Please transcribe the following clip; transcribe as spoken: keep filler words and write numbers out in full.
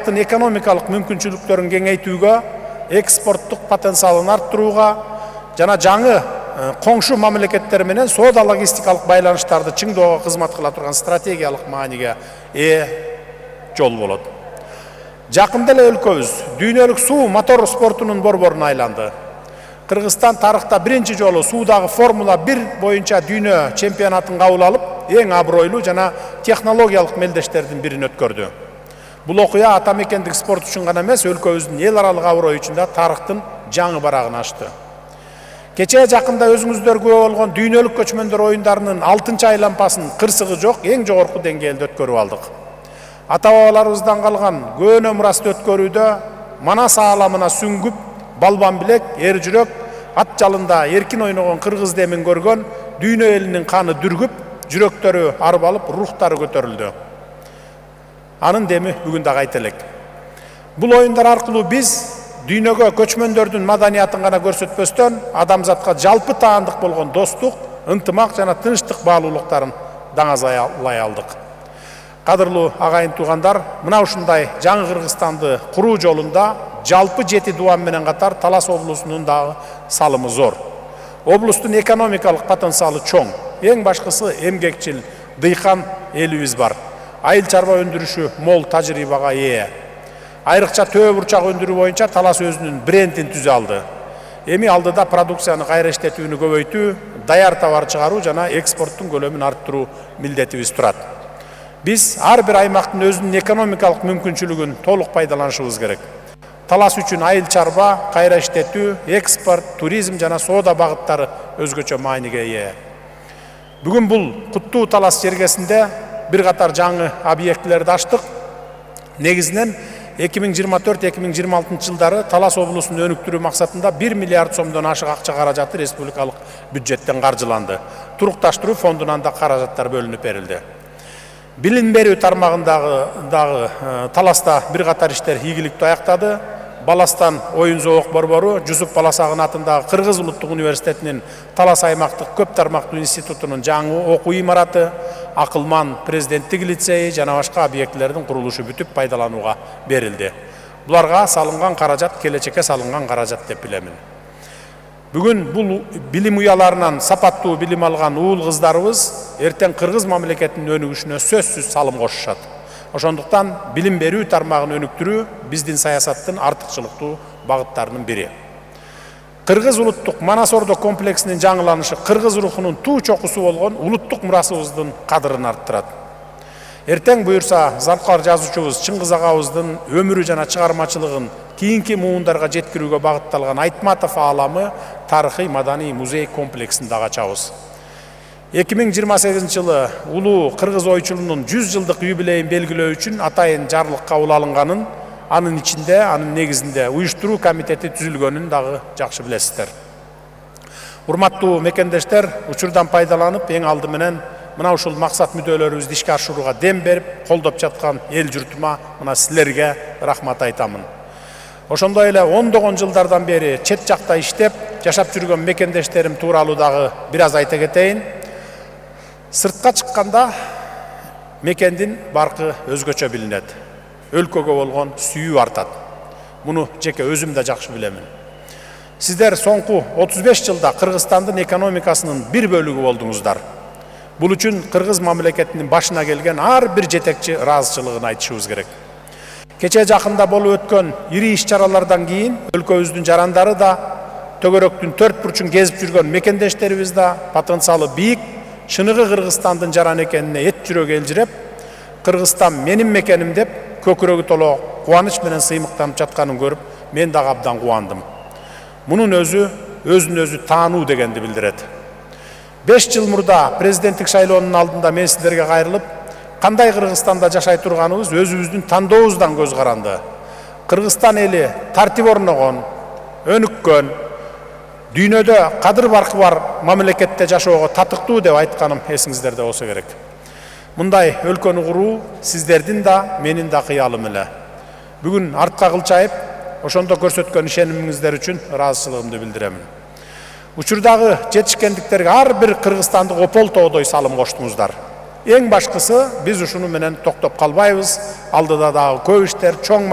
аймактын экономикалык мүмкүнчүлүктөрүн кеңейтүүгө, экспорттук потенциалын арттырууга жана жаңы коңшу мамлекеттер менен соода логистикалык байланыштарды чыңдоого кызмат кыла турган стратегиялык мааниге ээ жол болот. Жакында эле өлкөбүз дүйнөлүк суу мотор спортунун борборуна айланды. Кыргызстан тарыхта биринчи жолу суудагы Формула бир боюнча дүйнө чемпионатын кабыл алып, эң абройлуу жана технологиялык мелдештердин бирин өткөрдү. Бул окуя ата мекендик спорт үчүн гана эмес, өлкөбүздүн эл аралык аброю үчүн да тарыхтын жаңы барагын ачты. Кечээ жакында өзүңүздөр күбө болгон дүйнөлүк көчмөндөр оюндарынын алтынчы айлампасын кырсыгы жок эң жогорку деңгээлде өткөрүп алдык. Ата-бабаларыбыздан калган көөнө мурасты өткөрүүдө Манас ааламына сүңгүп, балбан билек, эр жүрөк, ат жалында эркин ойногон кыргыз демин көргөн дүйнө элинин каны дүргүп, жүрөктөрү арбалып, рухтары көтөрүлдү. Анын деми бүгүн да кайта элек. Бул оюндар аркылуу биз дүйнөгө көчмөндөрдүн маданиятын гана көрсөтпөстөн, адамзатка жалпы таандык болгон достук, ынтымак жана тынчтык баалуулуктарын даңазалай алдык. Кадырлуу агайын туугандар, мына ушундай жаңы Кыргызстанды куруу жолунда жалпы жети дубан менен катар Талас облусунун дагы салымы зор. Облустун экономикалык потенциалы чоң. Эң башкысы эмгекчил, дыйкан элибиз бар. Айыл чарба өндүрүшү мол тажрыйбага ээ. Айрыкча төө бурчак өндүрүү боюнча Талас өзүнүн брендин түзө алды. Эми алдыда продукцияны кайра иштетүүнү көбөйтүү, даяр товар чыгаруу жана экспорттун көлөмүн арттыруу милдетибиз турат. Биз ар бир аймактын өзүнүн экономикалык мүмкүнчүлүгүн толук пайдаланышыбыз керек. Талас үчүн айыл чарба, кайра иштетүү, экспорт, туризм жана соода багыттары өзгөчө мааниге ээ. Бүгүн бул куттуу Талас жергесинде бир катар жаңы объектилерди ачтык. Негизинен эки миң жыйырма төрт эки миң жыйырма алтынчы жылдары Талас облусун өнүктүрүү максатында бир миллиард сомдон ашык акча каражаты республикалык бюджеттен каржыланды. Турукташтыруу фондунан да каражаттар бөлүнүп берилди. Билим берүү тармагындагы дагы Таласта бир катар иштер ийгиликтүү аяктады. Баластан оюн зоок борбору, Жусуп Баласагын атындагы Кыргыз улуттук университетинин Талас аймактык көп тармактуу институтунун жаңы окуу имараты, Акылман президенттик лицеи жана башка объектилердин курулушу бүтүп пайдаланууга берилди. Буларга салынган каражат келечекке салынган каражат деп билемин. Бүгүн бул билим уяларынан сапаттуу билим алган уул кыздарыбыз эртең Кыргыз мамлекетинин өнүгүшүнө сөзсүз салым кошушат. Ошондуктан билим берүү тармагын өнүктүрүү биздин саясаттын артыкчылыктуу багыттарынын бири. Кыргыз улуттук Манас Ордо комплексинин жаңыланышы кыргыз рухунун туу чокусу болгон улуттук мурасыбыздын кадырын арттырат. Эртең буюрса Залкар жазуучубуз Чыңгыз агабыздын өмүрү жана чыгармачылыгын кийинки муундарга жеткирүүгө багытталган Айтматов ааламы тарыхый маданий музей комплексин дагы ачабыз. эки миң жыйырма сегизинчи жылы улуу кыргыз ойчулунун жүз жылдык юбилейин белгилөө үчүн атайын жарлык кабыл алынганын, анын ичинде, анын негизинде уюштуруу комитети түзүлгөнүн дагы жакшы билесиздер. Урматтуу мекендештер, учурдан пайдаланып, эң алды менен мына ушул максат мүдөлөрүбүздү ишке ашырууга дем берип, колдоп жаткан эл журтума мына силерге рахмат айтамын. Ошондой эле ондогон жылдардан бери чет жакта иштеп, жашап жүргөн мекендештерим тууралуу дагы бир аз айта кетейин. Сыртка чыкканда мекендин баркы өзгөчө билинет. Өлкөгө болгон сүйүү артат. Муну жеке өзүм да жакшы билемин. Сиздер соңку отуз беш жылда Кыргызстандын экономикасынын бир бөлүгү болдуңуздар. Бул үчүн Кыргыз мамлекетинин башына келген ар бир жетекчи ыраазычылыгын айтышыбыз керек. Кечээ жакында болуп өткөн ири иш-чаралардан кийин өлкөбүздүн жарандары да, төгөрөктүн төрт бурчун кезип жүргөн мекендештерибиз да потенциалы бийик, чыныгы Кыргызстандын жаран экенине эт жүрөк элжиреп, Кыргызстан менин мекеним деп көкүрөгү толо кубаныч менен сыймыктанып жатканын көрүп, мен дагы абдан кубандым. Мунун өзү өзүн өзү таануу дегенди билдирет. беш жыл мурда президенттик шайлоонун алдында мен сиздерге кайрылып, кандай Кыргызстанда жашай турганыбыз өзүбүздүн тандообуздан көз каранды. Кыргызстан эли тартип орногон, өнүккөн, дүйнөдө кадыр баркы бар мамлекетте жашоого татыктуу деп айтканым эсиңиздерде болсо керек. Мындай өлкөнү куруу сиздердин да, менин да кыялым эле. Бүгүн артка кылчайып, ошондо көрсөткөн ишенимиңиздер үчүн ыраазычылыгымды билдиремин. Учурдагы жетишкендиктерге ар бир кыргызстандык опол тоодой салым коштуңуздар. Эң башкысы биз ушуну менен токтоп калбайбыз. Алдыда дагы көп иштер, чоң